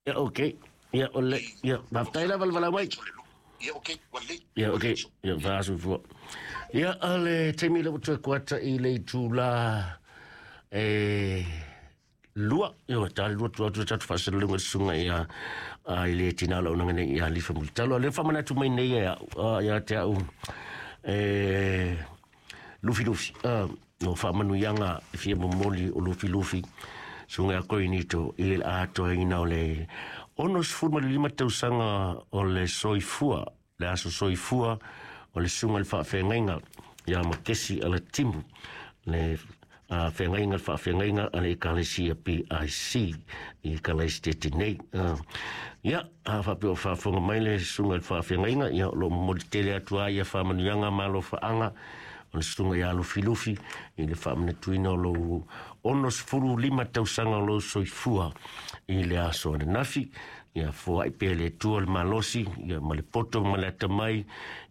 Ia, okei. Ia, o le, ia, faafetai lava le valaau mai. Ia, okei, ua lelei. Ia, okei. Ia, faasoifua. Ia, o le taimi lea ua toe kuata i le itula e 2. Ia, ua ta le 2 atu atu tatou faasalalauga i le susuga ia i le tina o le auaunaga nei ia Lifa Mulitalo. O lea faamanatu mai nei e au, ia te au e Lufilufi. O faamanuiaga e fia momoli o Lufilufi susuga ia Korinito i le atoaina o le 65 tausaga o le soifua, le aso soifua o le susuga i le faafeagaiga ia Makesi Alatimu, le feagaiga, le faafeagaiga a le Ekalesia PIC i Kalaisitete nei. Ia, a faapea o faafofoga mai le susuga i le faafeagaiga, ia o lo o momoli tele atu ai ia faamanuiaga ma alofaaga o le susuga ia Lufilufi i le faamanatuina o lou 65 tausaga o lou soifua i le aso ananafi. Ia foai pea le Atua le malosi ia ma le poto ma le atamai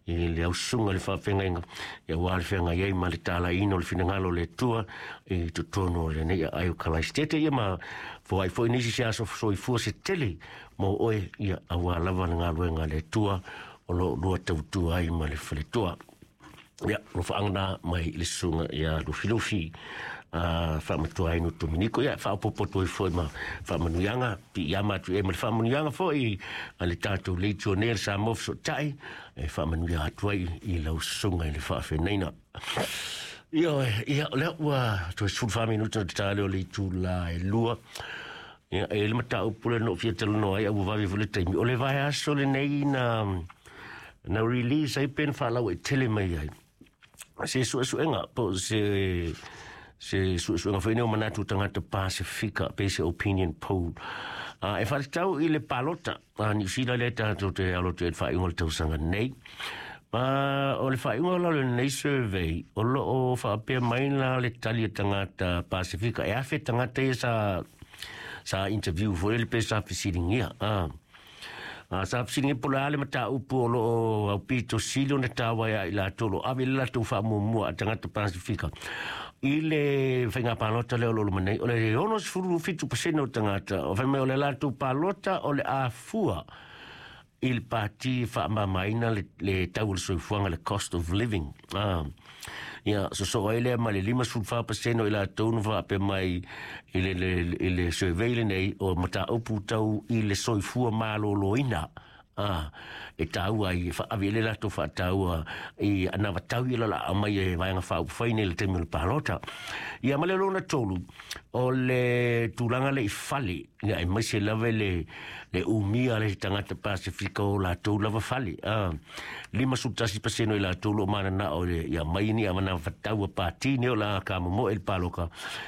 i le aususuga i le faafeagaiga, ia aua le feagai ai ma le talaina o le finagalo o le Atua i totonu o lenei aai o Kalaisitete. Ia ma foai foi nisi se aso soifua se tele mo oe, ia aua lava le galuega a le Atua o lo o lua tautua ai ma le faletua. Ia, alofaaga na mai i le susuga ia Lufilufi, faamatua ai no Dominiko. Ia, faaopoopo atu ai foi ma faamanuiaga, piiama atu i ai ma le faamanuiaga foi a le tatou Legionnaire Samoa Fesootai, e faamanuia atu ai i lau susuga i le faafenaina. Ia, ia, o lea ua toe 14 minuta o te tale o le itula e 2. Ia, e le mataupu le no fia talanoa ai, a ua vave foi le taimi. O le vaiaso lenei na release ai pe na faalauaitele mai ai se suesuega po o se suesuega foi nei o manatu o tagata Pasifika pe se opinion poll e faatatau i le palota a Niu Sila lea tatou te alo atu ai i le faaiuga o le tausaga nei. Ma o le faaiuga o lalo i lenei survey, o lo o faapea mai la le tali a tagata Pasifika, e 1,000 tagata ia sa interview foi le pe sa fesiligia. Sa fesiligia po o le a le mataupu o lo o aupito sili ona taua ia i latou o lo o ave i le latou faamuamua a tagata Pasifika i le faiga palota lea o lo o loma nei. O le 67% o tagata o fai mai o le latou palota o le a fua i le pati e faamamaina le tau o le soifuaga, le cost of living. Ia, sosoo ai lea ma le 54% o i latou na faapea mai i le survey lenei o mataupu tau i le soifua maloloina e taua ai, e faaavi ai le latou faataua i anavatau ia la aumai e Vaega Faaupufai nei i le taimi o le palota. Ia, ma le lona tolu, o le tulaga le i fale, ia aemaise lava le umia le tagata Pasifika o latou lava fale. 51% o i latou lo o mananao ia mai ni anavatau a pati nei o la ka momoe i le paloka.